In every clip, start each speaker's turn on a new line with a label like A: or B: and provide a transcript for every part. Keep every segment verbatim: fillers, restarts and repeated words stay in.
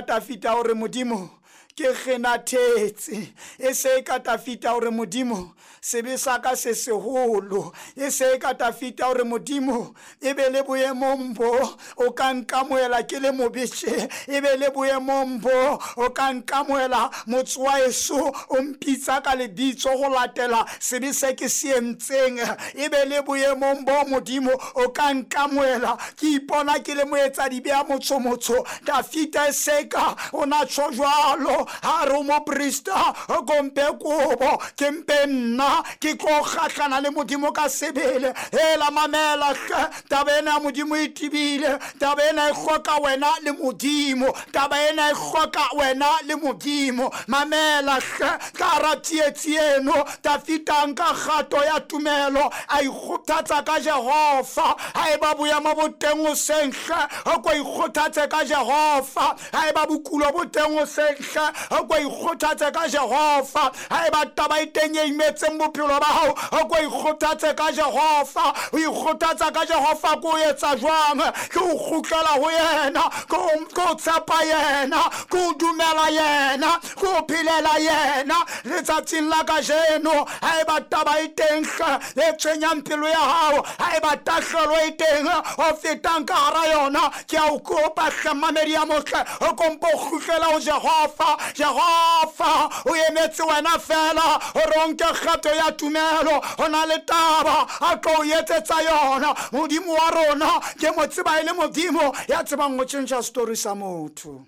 A: Tafita hore Modimo ke kgenathetse, e se ka Tafita hore Modimo sebe sa ka se seholo, e se ka Tafita hore Modimo e be le boemong bo o ka nkamohela ke le mobeshe, e be le boemong bo o ka nkamohela motse wa heso o mpitsa ka lebitso ho latela sebe se ke se entseng, e be le boemong bo Modimo o ka nkamohela ke ipona ke le moetsadibe ya motsho motsho. Tafita e seka o na tjho jwalo ha re moprista o kompe kobo ke mpe nna ke tlo kgahlana le Modimo ka sebele. Hela mamela hle, taba ena ya Modimo e tebile, taba ena e hloka wena le Modimo, taba ena e hloka wena le Modimo. Mamela hle, ka hara tsietsi eno Tafita nka kgato ya tumelo a ikgothatsa ka Jehova. Haeba boemo bo teng hoseng hle, o ko ikgothatse ka Jehova. Haeba bokulo bo teng hoseng hle, o ko ikgothatse ka Jehova. Haeba taba e teng e imetseng bophelo ba hao, o ko ikgothatse ka Jehova. O ikgothatsa ka Jehova ko etsa jwang? Ke o kgutlela ho yena, ke o tshepa yena, ke o dumela yena, ke o phelela yena. Letsatsing la kajeno haeba taba e teng hle e tshwenyang pelo ya hao, haeba tahlelo e teng o fetang ka hara yona, ke a o kopa hle mamedi ya motle, o kompo kgutlela ho Jehova. Jehova o emetse wena fela hore o nke kgato ya tumelo. Ho na le taba a tlo o etsetsa yona. Modimo wa rona ke mo tseba e le Modimo ya tsebang ho tjhentjha story sa motho.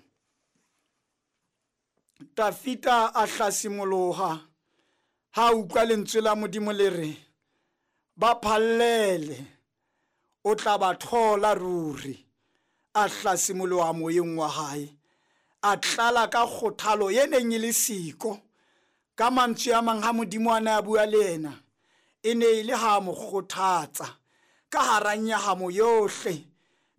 A: Tafita a hlasimoloha ha utlwa lentswe la Modimo le re ba phallele, o tla ba thola ruri. A hlasimoloha moyeng wa hae, a tlala ka kgothalo e neng e le siko. Ka mantswe a mang ha Modimo a ne a bua le yena, e ne e le ha mo kgothatsa ka hara nyahamo yohle,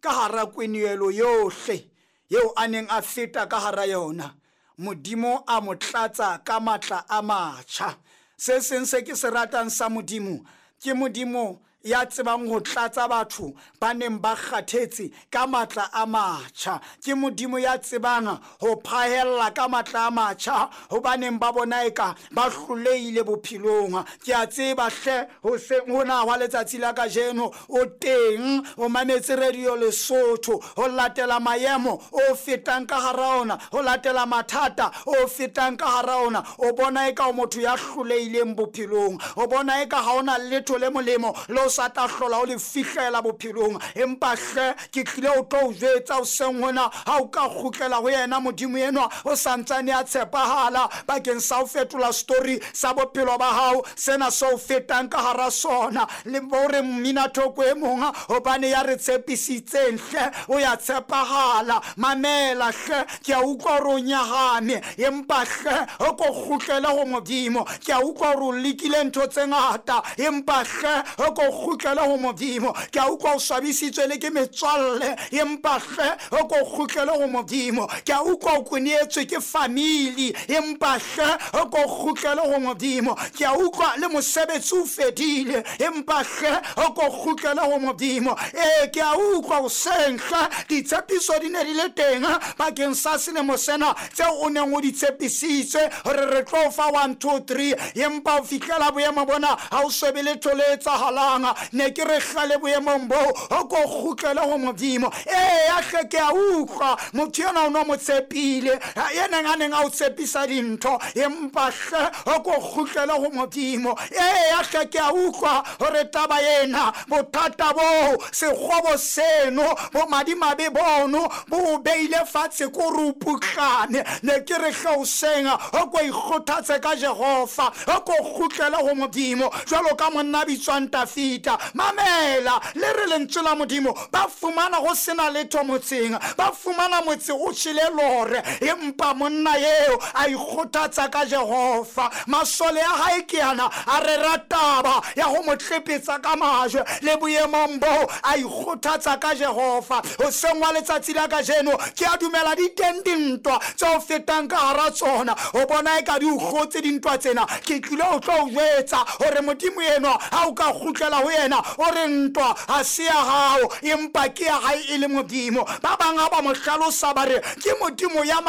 A: ka hara kwenehelo yohle eo a neng a feta ka hara yona. Modimo a mo tlatsa ka matla a matjha. Se seng se ke se ratang sa Modimo ke Modimo ya tsebang ho tlatsa batho ba neng ba kgathetse ka matla a matjha. Ke Modimo ya tsebang ho phahella ka matla a matjha ho ba neng ba bona eka ba hlolehile bophelong. Ke a tseba hle hoseng hona hwa letsatsi la kajeno o teng, o mametse Radio Lesotho ho latela maemo o fetang ka hara ona, ho latela mathata o fetang ka hara ona. O bona eka o motho ya hlolehileng bophelong, o bona eka ha ona letho le molemo le o sa tla hlola o le fihlela bophelong. Empa hle ke tlile o tlo o jwetsa hoseng hona, ha o ka kgutlela ho yena Modimo enwa o santsane a tshepahala bakeng sa ho fetola story sa bophelo ba hao, sena se o fetang ka hara sona. Le hore mmina thoko e mong hobane ya re tshepisitseng hle o ya tshepahala. Mamela hle, ke a utlwa hore o nyahame, empa hle o ko kgutlele ho Modimo. Ke a utlwa hore o lekile ntho tse ngata, empa hle o ko kgutlele ho Modimo. Ke a utlwa o swabisitswe le ke metswalle, empa hle o ko kgutlele ho Modimo. Ke a utlwa o kwenetswe ke family, empa hle o ko kgutlele ho Modimo. Ke a utlwa le mosebetsi o fedile, empa hle o ko kgutlele ho Modimo. Ee, ke a utlwa hoseng hle ditshepiso di ne di le teng bakeng sa selemo sena tseo o neng o di tshepisitswe hore re tlo fa one two three, empa o fihlela boemo bona ha o so be letho le etsahalang. Ne ke re hlale boemong bo o ko kgutlele ho Modimo. Ee, ya hle ke a utlwa motho enwa o no mo tshepile, e neng a neng a o tshepisa dintho, empa hle o ko kgutlele ho Modimo. Ee, ya hle ke a utlwa hore taba ena, bothata bo, sekgobo seno, bo madimabe bono bo o beile fatshe ko re o putlane. Ne ke re hle hoseng o ko ikgothatse ka Jehova, o ko kgutlele ho Modimo jwalo ka monna bitswang Tafita. Mamela le re lentswe la Modimo, ba fumana ho sena letho motseng, ba fumana motse o tjhele lore, empa monna eo a ikgothatsa ka Jehova. Masole a hae ke ana a rera taba ya ho mo tlepetsa ka majwe, le boemong bo a ikgothatsa ka Jehova. Hoseng wa letsatsi la kajeno ke a dumela di teng dintwa tse o fetang ka hara tsona, o bona eka di o hlotse dintwa tsena. Ke tlile o tlo o jwetsa hore Modimo enwa ha o ka kgutlela ho ho yena o re ntwa ha se ya hao, empa ke ya hae e le Modimo. Ba bang ha ba mo hlalosa ba re ke Modimo ya